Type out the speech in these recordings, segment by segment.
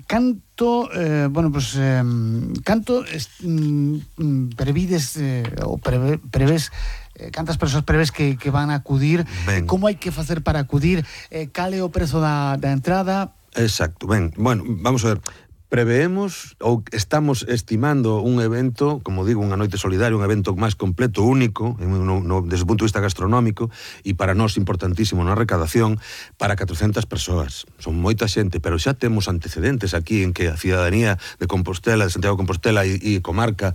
canto, canto prevides ou prevés cantas persoas prevés que van a acudir, como hai que facer para acudir, cal é o prezo da entrada? Exacto, bueno, vamos a ver. Preveemos ou estamos estimando un evento, como digo, unha noite solidaria, un evento máis completo, único, desde o punto de vista gastronómico, e para nós importantísimo na recadación, para 400 persoas. Son moita xente, pero xa temos antecedentes aquí en que a cidadanía de Compostela, de Santiago de Compostela e comarca,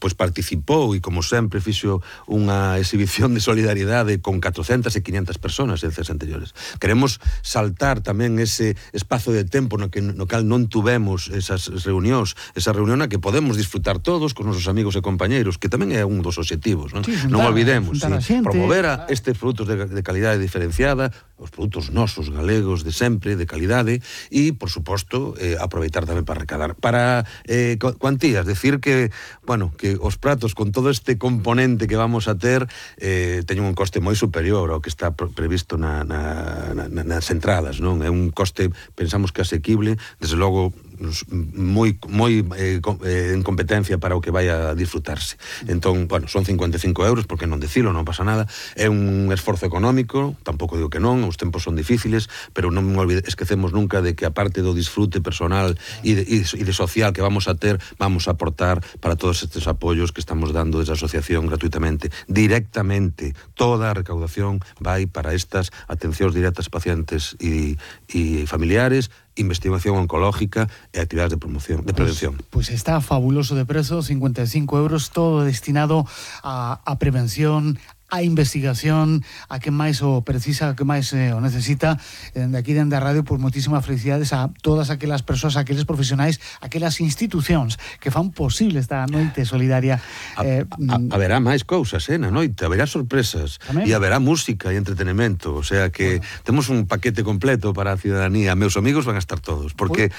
pois participou e, como sempre, fixo unha exhibición de solidariedade con 400 e 500 persoas en veces anteriores. Queremos saltar tamén ese espazo de tempo no cal non tuvemos esas reunións, esa reunión a que podemos disfrutar todos con nosos amigos e compañeiros, que tamén é un dos obxectivos, non? Sí, Non olvidemos, promover claro, estes produtos de calidade diferenciada, os produtos nosos, galegos, de sempre, de calidade, e, por suposto, aproveitar tamén para recadar. Para cuantías, decir que, bueno, que os pratos con todo este componente que vamos a ter teñen un coste moi superior ao que está previsto nas entradas, non? É un coste, pensamos que asequible, desde logo moi en competencia para o que vai a disfrutarse. Entón, bueno, son 55 euros, porque non decilo, non pasa nada. É un esforzo económico, tampouco digo que non, os tempos son difíciles, pero non esquecemos nunca de que a parte do disfrute personal e de social que vamos a ter, vamos a aportar para todos estes apoios que estamos dando desde a asociación gratuitamente, directamente. Toda a recaudación vai para estas atencións directas a pacientes e familiares, investigación oncológica e actividades de promoción, de prevención. Pues está fabuloso de prezo, 55 euros, todo destinado a prevención, a investigación, a que máis o precisa, a que máis o necesita. Dende aquí, dende a radio, pues moitísimas felicidades a todas aquelas persoas, aqueles profesionais, aquelas institucións que fan posible esta noite solidaria. Haberá máis cousas, na noite, haberá sorpresas, e haberá música e entretenimento, o sea que temos un paquete completo para a cidadanía. Meus amigos van a estar todos, porque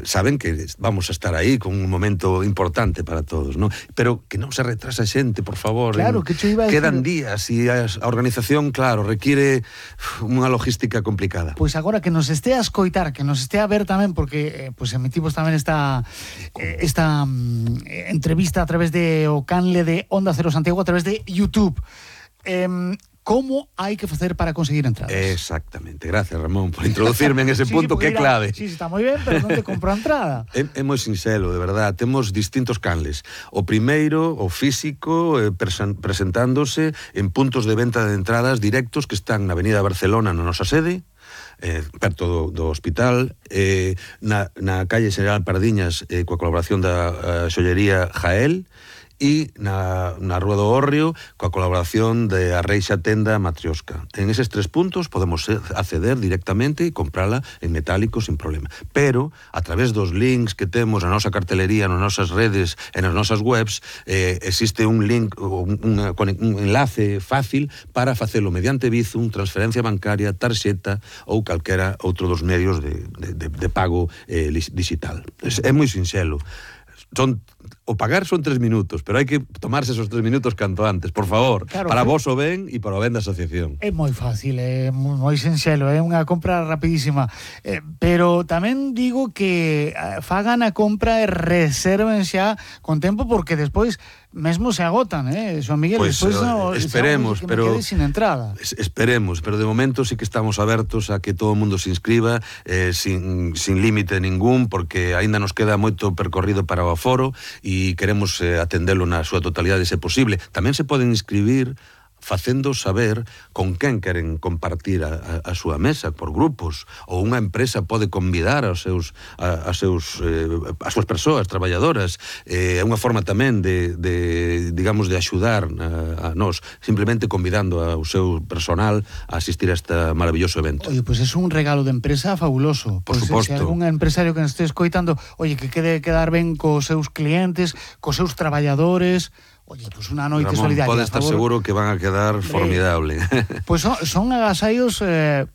saben que vamos a estar aí con un momento importante para todos, ¿no? Pero que non se retrasa xente, por favor. Claro, que cho iba a quedan días e a organización, claro, requiere unha logística complicada. Pois agora que nos este a escoitar, que nos este a ver tamén, porque pues emitimos tamén esta entrevista a través de o canle de Onda Cero Santiago, a través de YouTube. Como hai que facer para conseguir entradas? Exactamente, gracias Ramón por introducirme en ese punto que é clave. Sí, está moi ben, pero non te compro a entrada. É moi sinxelo, de verdad, temos distintos canles. O primeiro, o físico, presentándose en puntos de venta de entradas directos que están na Avenida Barcelona, na nosa sede, perto do hospital, na calle General Pardiñas, coa colaboración da xollería Jael, e na Rúa do Hórreo coa colaboración de a Reixa Tenda Matrioska. En eses 3 puntos podemos acceder directamente e comprala en metálico sin problema. Pero, a través dos links que temos na nosa cartelería, nas nosas redes e nas nosas webs, existe un link, un enlace fácil para facelo mediante Bizum, transferencia bancaria, tarxeta ou calquera outro dos medios de pago digital. É moi sinxelo. O pagar son 3 minutos, pero hai que tomarse esos 3 minutos canto antes, por favor, claro, para vos o ben e para o ben da asociación. É moi fácil, é moi sinxelo, é unha compra rapidísima, pero tamén digo que fagan a compra e reserven xa con tempo, porque despois mesmo se agotan, Xoan Miguel, pues, despois esperemos, pero me quede sin entrada. Esperemos, pero de momento sí que estamos abertos a que todo o mundo se inscriba, sin límite ningún, porque aínda nos queda moito percorrido para o aforo e queremos atendelo na súa totalidade se posible. Tamén se poden inscribir facendo saber con quen queren compartir a súa mesa, por grupos, ou unha empresa pode convidar as súas persoas traballadoras. É unha forma tamén de axudar a nós, simplemente convidando ao seu personal a asistir a este maravilloso evento. Oye, pues é un regalo de empresa fabuloso. Por suposto. Se algún empresario que nos este escoitando, oye, que quede quedar ben cos seus clientes, cos seus traballadores. Oye, pues unha noite solidaria. Pode estar seguro que van a quedar formidable. Pues son agasallos,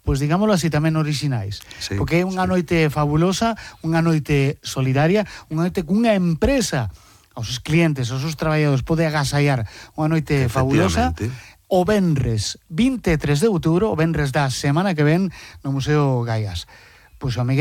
pues digámoslo así, tamén orixinais. Sí, porque é unha noite fabulosa, unha noite solidaria, unha noite cunha empresa aos seus clientes, aos seus traballadores, pode agasallar unha noite fabulosa. O venres 23 de outubro, o venres da semana que ven, no Museo Gaiás. Pois, Miguel,